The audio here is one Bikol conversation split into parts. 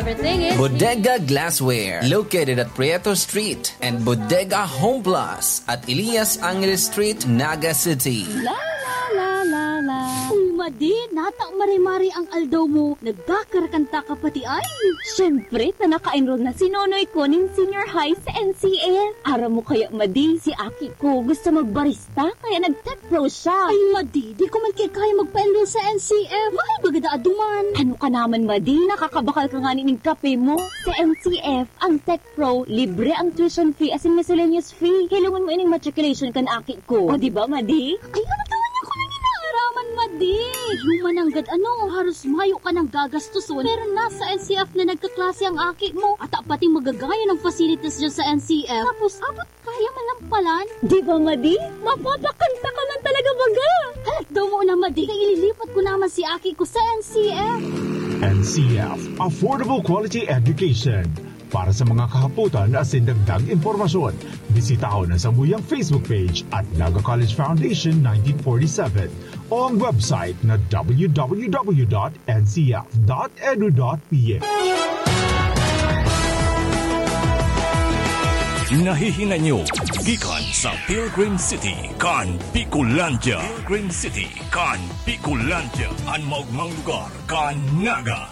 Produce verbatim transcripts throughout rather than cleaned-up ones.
Everything is Bodega Glassware, located at Prieto Street, and Bodega Home Plus at Elias Angeles Street, Naga City. La, la, la, la, la. Uy, Madi, nata mare-mare ang aldaw mo. Nagkakarakanta ka pati ay. Siyempre, ta naka-enroll na si Nonoy ko nin senior high sa N C F. Aram mo kaya, Madi, si aki ko gusto magbarista, kaya nag-tech pro siya. Ay, Madi, di ko man kaya magpa-enroll sa N C F. Mahal baga daa duman. Ano ka naman, Madi? Nakakabakal ka nga nin kape mo. Sa N C F, ang tech pro, libre ang tuition fee asin miscellaneous fee. Hilongon mo ining matriculation kan aki ko. O, di ba, Madi? Ay, ano ka man niya ko nang inaaraman, Madi? Yung mananggad ano, haros mayo ka nang gagastuson, pero nasa N C F na nagkaklase ang aki mo. At pati magagaya ng facilities dyan sa N C F. Tapos, abot kaya man lang palan. Di ba, Madi? Mapapakanta ka man talaga baga. Halat daw mo na, Madi. Kaya ililipat ko naman si aki ko sa N C F. N C F, Affordable Quality Education. Para sa mga kahapotan asin dagdag impormasyon, bisitahon ang samuyang Facebook page at Naga College Foundation nineteen forty-seven o ang website na w w w dot n c f dot edu dot p h. Nahihinay nyo gikan sa Pilgrim City kan Bicolandia. Pilgrim City kan Bicolandia, an maogmang lugar kan Naga.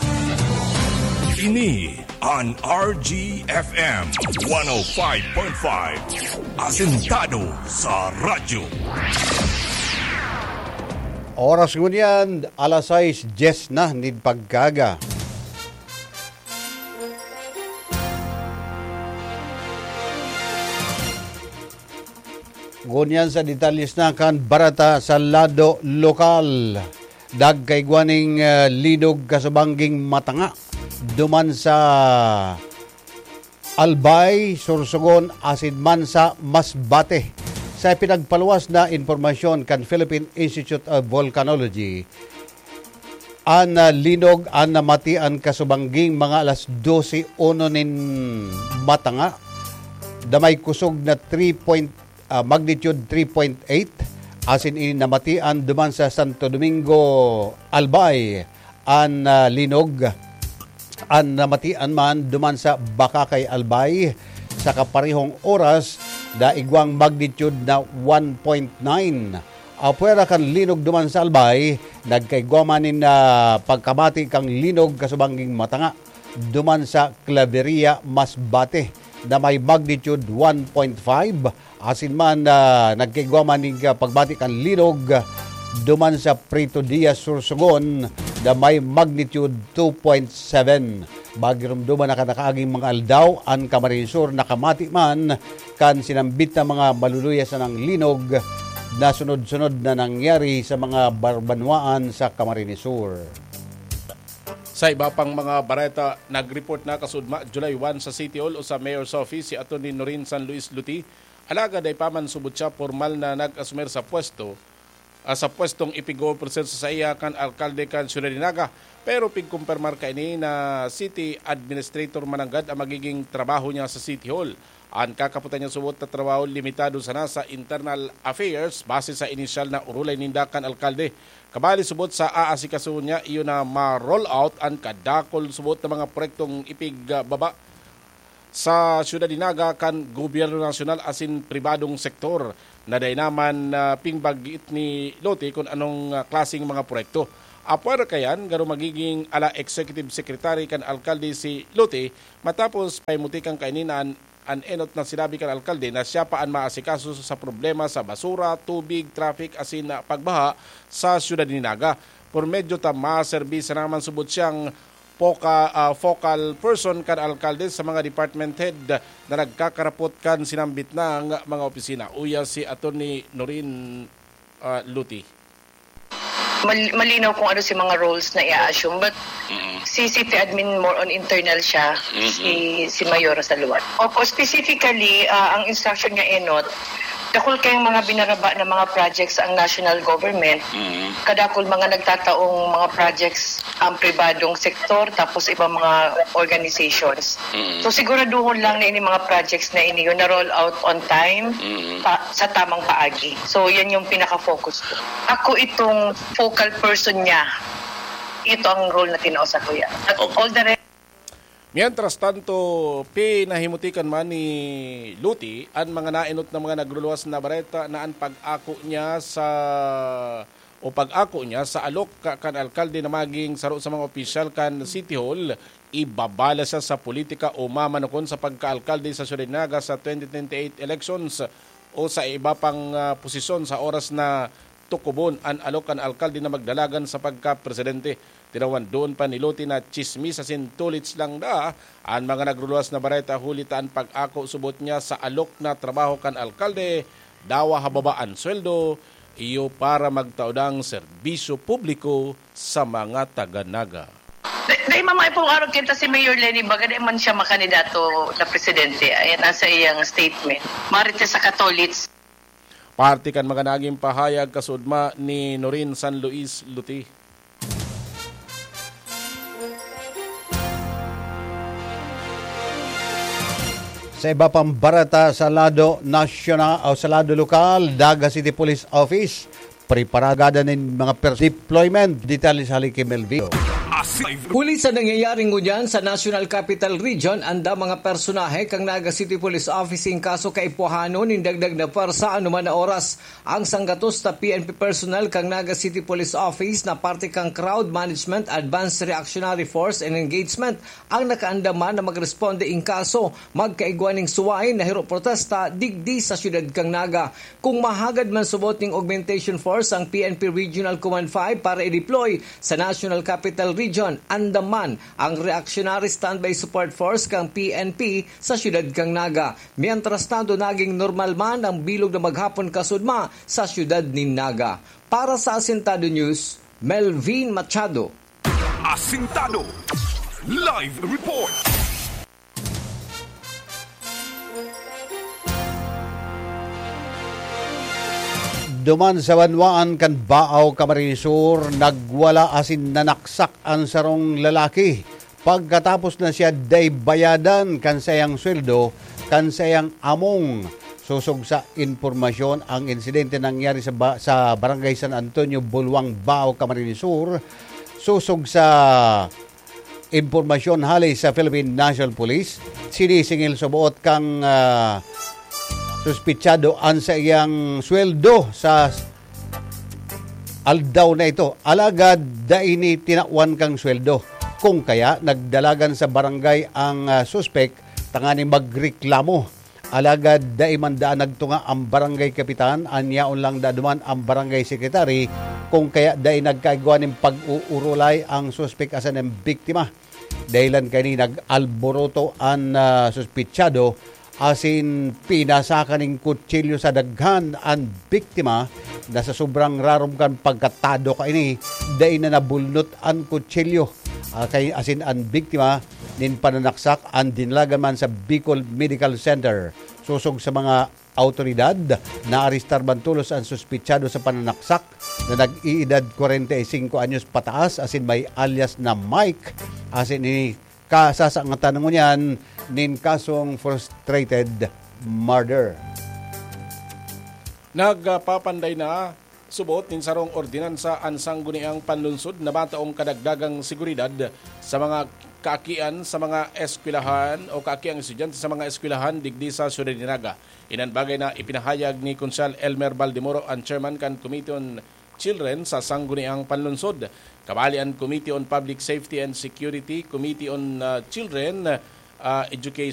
Ini an R G F M one oh five point five, asentado sa radyo. Oras ngunyan, alas sais dyes na nin pagkaaga. Ngunyan sa detalles na kan bareta sa lado lokal. Nagkaigwa nin, ah, linog kasubangging matanga duman sa Albay, Sorsogon, asin man sa Masbate. Sa ipinagpaluwas na impormasyon kan Philippine Institute of Volcanology, an, ah, linog an namatian kasubangging mga alas dose uno nin matanga, na may kusog na three point, ah, magnitude three point eight, asin ini namatian duman sa Santo Domingo, Albay. An, ah, linog, an namatian man duman sa Bacacay, Albay, sa kaparehong oras, na igwang magnitude na one point nine. Apwera kan linog duman sa Albay, nagkaigwa man nin, ah, pagkamati kan linog kasubangging matanga duman sa Claveria, Masbate, na may magnitude one point five, asin man, ah, nagkaigwa man nin, ah, pagmati kan linog duman sa Prito Diaz, Sorsogon, na may magnitude two point seven. Magirumduman na kan nakaaging mga aldaw, an Camarines Sur nakamati man kan sinambit na mga maluluya sanang linog na sunod-sunod na nangyari sa mga bar-, banwaan sa Camarines Sur. Sa iba pang mga bareta, nag-report na kasudma July one sa City Hall o sa Mayor's Office si Attorney Norin San Luis Luti, alagad dai pa man subot siya pormal na nag-asumer sa pwesto, ah, sa pwestong ipigo-officer sa saiya kan alkalde kan Ciudad de Naga, pero pigkumpirmar kaini na city administrator mananggad ang magiging trabaho niya sa City Hall. An kakapotan niya subot na trabaho limitado sana sa internal affairs base sa inisyal na orolay ninda kan alkalde. Kabali subot sa aasikasuhon niya, iyo na ma-roll out an kadakul subot na mga proyektong ipigbaba sa Syudad de Naga kan gobyerno nasyonal asin pribadong sektor, na dai naman, ah, pingbagiit ni Lote kun anong, ah, klaseng mga proyekto. Apwera kayan, garo magiging ala executive secretary kan alkalde si Lote, matapos paimutikan kaini na an, an enot na sinabi kan alkalde na siya pa an maasikaso sa problema sa basura, tubig, traffic asin, ah, pagbaha sa Syudad ni Naga. Por medyo ta maserbi sana man subot siyang poka-, ah, focal person kan alkalde sa mga department head na nagkakarapot kan sinambit nang mga opisina. Uya si Attorney Norin, ah, Luti. Mal-, malinaw kung ano si mga roles na i-assume, but Mm. si city admin, more on internal siya, Mm-mm. si, si Mayor Saluan. Opo, specifically, ah, ang instruction nga enot, dakul kayong mga binaraba na mga projects ang national government. Mm. Kadakul mga nagtataong mga projects ang pribadong sektor, tapos ibang mga organizations. Mm. So, siguraduhon lang na ini mga projects na ini yun na-roll out on time, Mm. pa, sa tamang paagi. So, yan yung pinaka-focus ko. Ako itong focal person niya. Ito ang role na tinao sa kuya. At Okay. all the rest Mientras tanto, pinahimutikan man ni Loti an mga naenot na mga nagruluwas na bareta na an pag-ako niya sa, o pag-ako niya sa alok ka-, kan alkalde na maging saro sa mga opisyal kan City Hall, ibabala siya sa politika o mamanukon sa pagkaalkalde sa Siyudad Naga sa twenty twenty-eight elections o sa iba pang, ah, posisyon sa oras na tukubon an alok kan alkalde na magdalagan sa pagkapresidente. Tinawan doon pa ni Loti na tsismis asin tulits lang da an mga nagruluwas na bareta, huli ta an pag-ako subot niya sa alok na trabaho kan alkalde, dawa hababa an sweldo, iyo para magtaodang serbisyo publiko sa mga taga-Naga. Dai, dai mamay pong araw kita si Mayor Leni Baga, dai man siya makandidato na presidente. Ayan, nasa iyang statement. Marites sa Katolits. Parte kan mga naging pahayag kasudma ni Norin San Luis Luti. Sa iba pang bareta sa lado nasyonal o sa lado lokal, Naga City Police Office, preparada nin mga pers-, deployment. Detalye sa hali ki Melvin. Huli sa nangyayari ngunyan sa National Capital Region, anda mga personahe kan Naga City Police Office in kaso kaipuhanon nin dagdag na pwersa anuman na oras. Ang sanggatos na P N P personnel kan Naga City Police Office na parte kan Crowd Management Advanced Reactionary Force and Engagement ang nakaandaman na magresponde in kaso magkaigwa nin suway na hiro protesta digdi sa siyudad kan Naga. Kung mahagad man subot nin augmentation force ang P N P Regional Command five para i-deploy sa National Capital Region, andaman ang Reactionary Standby Support Force kan P N P sa siyudad kan Naga. Mientras tanto, naging normal man ang bilog na maghapon kasudma sa siyudad nin Naga. Para sa Asintado News, Melvin Machado. Asintado Live Report. Duman sa banwaan kan Baao, Camarines Sur, nagwala asin nanaksak an sarong lalaki. Pagkatapos na siya dai bayadan kan saiyang sweldo, kan saiyang among, sosog sa impormasyon, ang insidente nangyari sa ba-, sa Barangay San Antonio, Bulwang, Baao, Camarines Sur. Sosog sa impormasyon hali sa Philippine National Police, sinisingil sa buot kang, ah, suspitsado an saiyang sweldo sa aldaw na ito. Alagad dai ni tinawan kang sweldo. Kung kaya, nagdalagan sa barangay ang, ah, suspek tanganing magreklamo. Alagad dai man daan nagtunga ang barangay kapitan, an yaon lang da duman ang barangay secretary, kung kaya dai nagkaigwa nin pag-uurulay ang suspek asin ang biktima. Dahilan kaini, nag-alboroto an, ah, suspitsado asin pinasakan nin kutsilyo sa daghan an biktima na sa sobrang rarom kan pagkatado kaini, dai na nabulnot an kutsilyo. Ah, kay, asin an biktima nin pananaksak an dinalagan man sa Bicol Medical Center. Sosog sa mga awtoridad, naarestar man tolos an suspitsado sa pananaksak na nag-iidad kwarenta y singko anyos pataas asin may alias na Mike, asin ini kasasangatan ngunyan nin kasong frustrated murder. Nagpapanday na subot nin sarong ordinansa an Sangguniang Panlunsod na mataong kadagdagang seguridad sa mga kaakian sa mga eskwelahan o kaakiang estudyante sa mga eskwelahan digdi sa Siyudad nin Naga. Inan bagay na ipinahayag ni Konsehal Elmer Baldemoro, an chairman kan Committee on Children sa Sangguniang Panlunsod. Kabali an Committee on Public Safety and Security, Committee on, ah, Children, ah, Education,